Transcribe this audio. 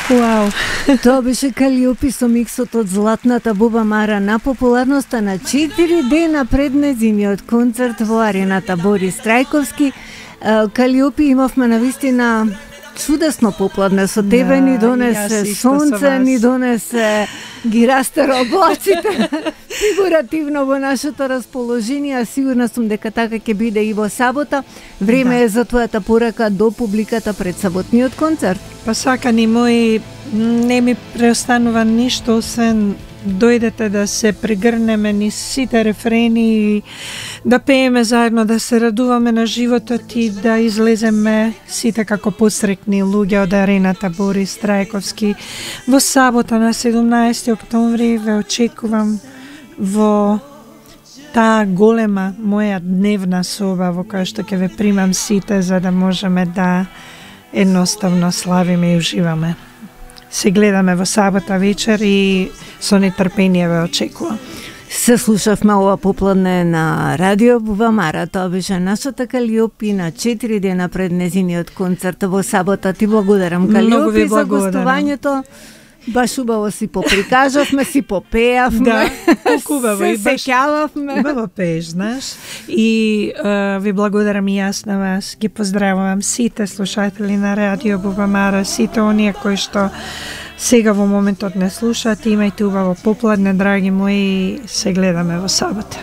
Вау. Тоа беше Калиопи со миксот од Златната буба Мара на популарноста на 4 дена пред нејзиниот концерт во арената Борис Трајковски. Калиопи имавме навистина чудесно попладне со тебе, ни донесе сонце, ни донесе ги растера облаците фигуративно во нашето расположение, а сигурна сум дека така ќе биде и во сабота. Време е за твојата порака до публиката пред саботниот концерт. Па сакани мои, не ми преостанува ништо освен дојдете да се прегрнеме низ сите рефрени и да пееме заедно, да се радуваме на животот и да излеземе сите како посрекни луѓе од арената Борис Трајковски во сабота на 17 октомври. Ве очекувам во таа голема моја дневна соба во која што ќе ве примам сите, за да можеме да едноставно славиме и уживаме. Се гледаме во сабота вечер и со нетрпение ве очекувам. Се слушавме ова попладне на Радио Буба Мара. Тоа беше нашата Калиопи на 4 дена пред нејзиниот концерт во сабота. Ти благодарам, Калиопи, за гостувањето. Баш убаво си поприкажавме, си попеавме. Да, убаво и баш сеќававме. Убаво пееш, знаеш. И ви благодарам и јас на вас. Ги поздравувам сите слушатели на Радио Буба Мара, сите оние кои што сега во моментот не слушаат. Имајте убаво попладне, драги мои, се гледаме во сабота.